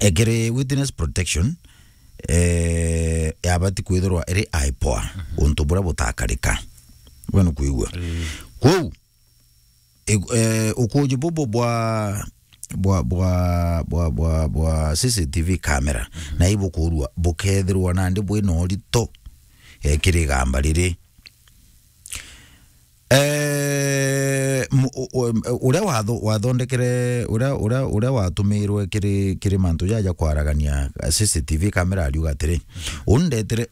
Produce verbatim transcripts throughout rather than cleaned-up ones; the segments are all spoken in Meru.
Ekere witness protection, eh, yabati kwithirwa iri aipoa, untu buria butakarika. We nukwigua? Kwou, e-, eh, ukuuji bubu bwa, bwa, bwa, bwa, bwa, bwa C C T V camera, na ibukurua, bukethirwa nandi bwina urito, eh, kiri igamba riri. Eh, mu-, u-, u-, uria watho-, wathondekere, uria, uria, uria watumirwe kiri, kiri mantu jaja kwaragania, C C T V camera ariuga atiri, uu ndetire,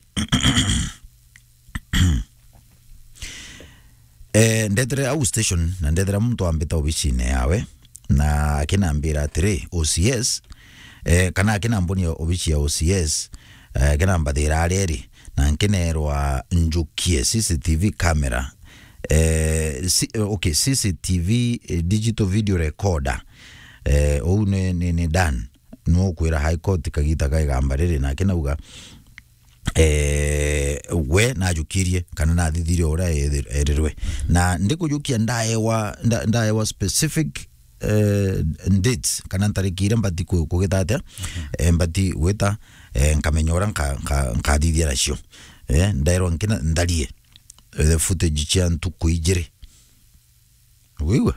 eh, ndetire au station, na ndethira muntu ambita obicine yawe, na akinambira atiri, O C S, eh, kana akinambonia obici ya O C S, eh, akinambathira aria iri, na nkineerwa njukie C C T V camera, eh, si-, eh, okay, C C T V, eh, digital video recorder. Eh, uu ni, ni, ni Dan. Nukwira High Court kagita ka igamba riri, na akinauga, eh, we najukirie kana nathithirie uria ethi-, erirwe. Na ndikujukia ndaewa, nda-, ndaewa specific, eh, dates kana ntariki iria mbati ku-, kugita atia, eh, mbati gwita, eh, nkamenya uria nka-, nka-, nkathithia nacio. Eh, ndaerwa nkina ntharie, eh, footage cia ntuku ijiri. Wigua?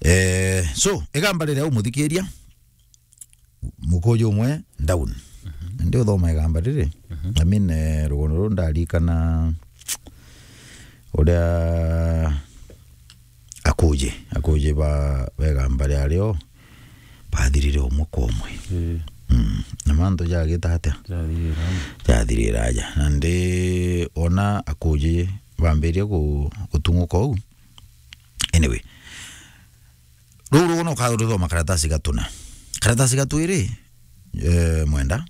Eh, so, igamba riria umuthikiria, mukuju umwe down. Ndi uthoma igamba riri. I mean, eh, rugono ruu ndarikana uria akuji, akuji ba, ba igamba riario bathirire umwe kwa umwe. Mm. Na mantu jagita atia? Jathirira aja. Na ndi ona akuji bambirie ku-, gutung'uka uu. Anyway, ruu rugono ukaruthoma karatasi gatuna. Karatasi gatu iri, eh, Mwenda.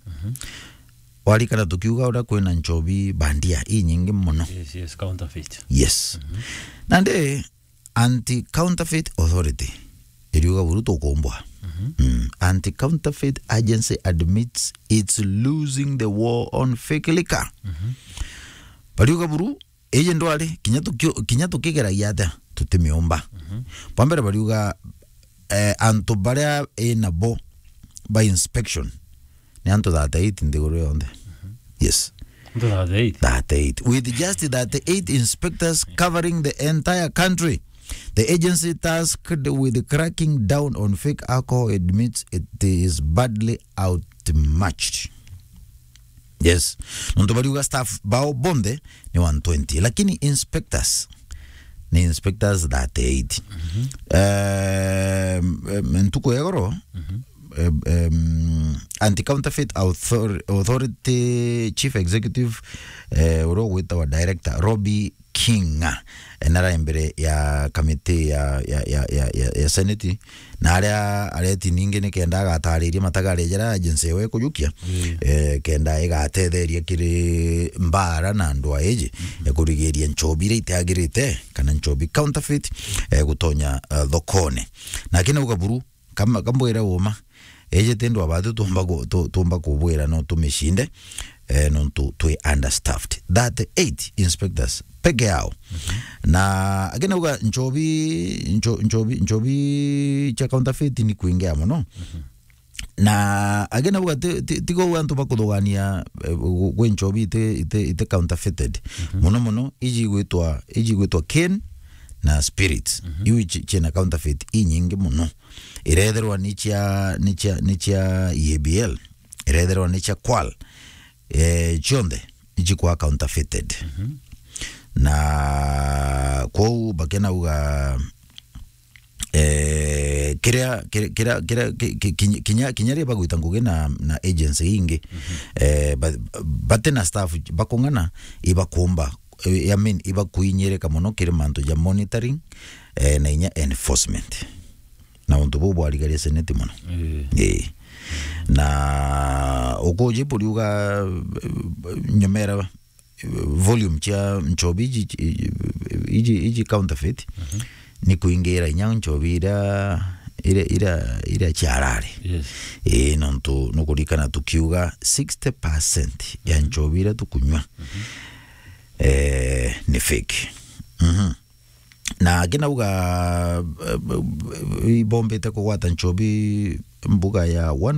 Warikana tukiuga uria kwina nchobi bandia inyingi muno. Yes, yes, counterfeit. Yes. Nandi Anti-Counterfeit Authority iriuga buru tukumbwa. Mm. Anti-Counterfeit Agency admits it's losing the war on fake liquor. Bariuga buru, iji ndwari, kinya tukio-, kinya tukigeragia atia, tutimiumba. Bwa mbere bariuga, eh, antu baria inabo by inspection ni antu thirty-eight nthiguru yonthe. Yes. Antu thirty-eight? Thirty-eight. With just thirty-eight inspectors covering the entire country, the agency tasked with cracking down on fake alcohol admits it is badly outmatched. Yes. Nontu bariuga staff bao bonthe ni one twenty, lakini inspectors ni inspectors thirty-eight. Em, em, ntuku ya igoro, em, em, Anti-Counterfeit Author-, Authority Chief Executive, eh, uria ugwitawa Director Robbie Kinga, eh, nara mbere ya kamiti ya, ya, ya, ya, ya, ya Senate, na aria areti ningi ni kenda agatariria matagare jaria agency ewe ikujukia, eh, kenda igatetheria kiri mbara na andu a iji, eh, kurigiria nchobi iria itiagirite kana nchobi counterfeit, eh, gutonya, eh, thokone. Na kinauga buru, kama, kambwire uma, iji ti ndwabatu tumba ku-, tu-, tumba kubwira no tumicinde, eh, nontu twi understaffed. Thirty-eight inspectors peke yao. Na akinauga nchobi, ncho-, nchobi, nchobi cia counterfeit ni kwingia muno. Na akinauga ti, ti, tiga uu antu bakuthugania, eh, gu-, gwi nchobi iti, iti, iti counterfeited. Muno muno, iji igwitwa, iji igwitwa cane na spirits. Iu ici-, ciina counterfeit inyingi muno. Irethirwa ni cia, ni cia, ni cia E A B L, irethirwa ni cia Kwal, eh, cionthe icikwa counterfeited. Na kwou bakenauga, eh, kiria, kiria, kiria, kiria, ki-, ki-, kinya, kinya, kinya riria bagwita ngugi na, na agency ingi, eh, ba-, bati na staff bakung'ana, ibakumba, eh, I mean, ibakuinyirika muno kiri mantu ja monitoring, eh, na inya enforcement. Na untu buu bwarigaria Senate muno. Ii. Ii. Na ukuji buriuga, eh, nyomera, eh, volume cia nchobi iji, iji, iji counterfeit, ni kuingira inya nchobi iria, iria, iria, iria ciarari. Yes. Ii, nontu nukurikana tukiuga sixty percent ya nchobi iria tukunywa, eh, ni fake. Mhm. Na akinauga, eh, ibombite kugwata nchobi mbuga ya one